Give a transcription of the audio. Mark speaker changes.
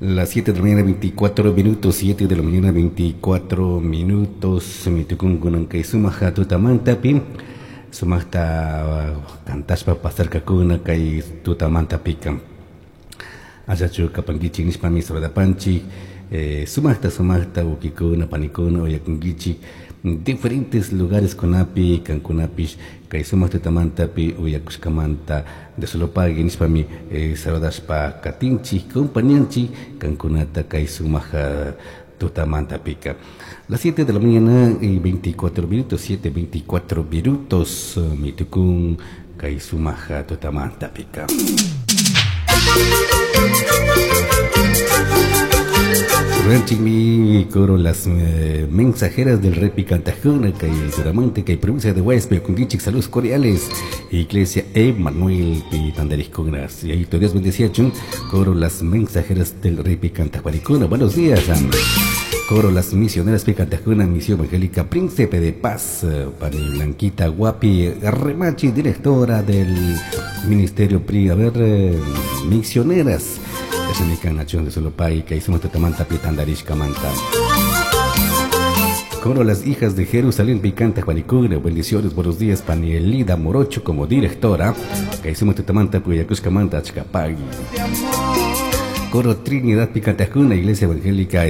Speaker 1: Las 7 de la mañana 24 minutos, 7 de la mañana 24 minutos, mitukunkunan kay sumaja tutamantapi, sumajta cantashpa pasarkakuna kay tutamantapika. Allachu kapankichik nishpami saludapanchik, sumajta sumajta ukikuna panikuna uyakunkichik diferentes lugares kunapi kankunapish kay sumaq tutamantapi uyakushkamanta de solo pagui nishpami saludashpa katinchik compañanchik kankunata kay sumaq tutamantapika. Las 7 de la mañana y 24 minutos, 7:24 minutos, mitukun kay sumaq tutamantapika. Ranchikmi coro las mensajeras del Rey Picantajuna, kay Turamante, kay provincia de Guayas, Pekungichik, saludos cordiales. Iglesia Emanuel Pitandarisconas. Y ahí Dios bendecía chun, coro las mensajeras del Rey Picantajuaricuna. Buenos días, coro las misioneras Picantajuna, Misión Evangélica Príncipe de Paz, para Blanquita Guapi, Remachi, directora del Ministerio PRI, a ver, misioneras. De Solopay, que hicimos Tatamanta Pitandarishkamanta. Coro las hijas de Jerusalén, Picanta Juanicuna, bendiciones, buenos días, Panielida Morocho como directora, que hicimos Tatamanta Puyacushkamanta Achcapagui. Coro Trinidad Picantajuna, Iglesia Evangélica.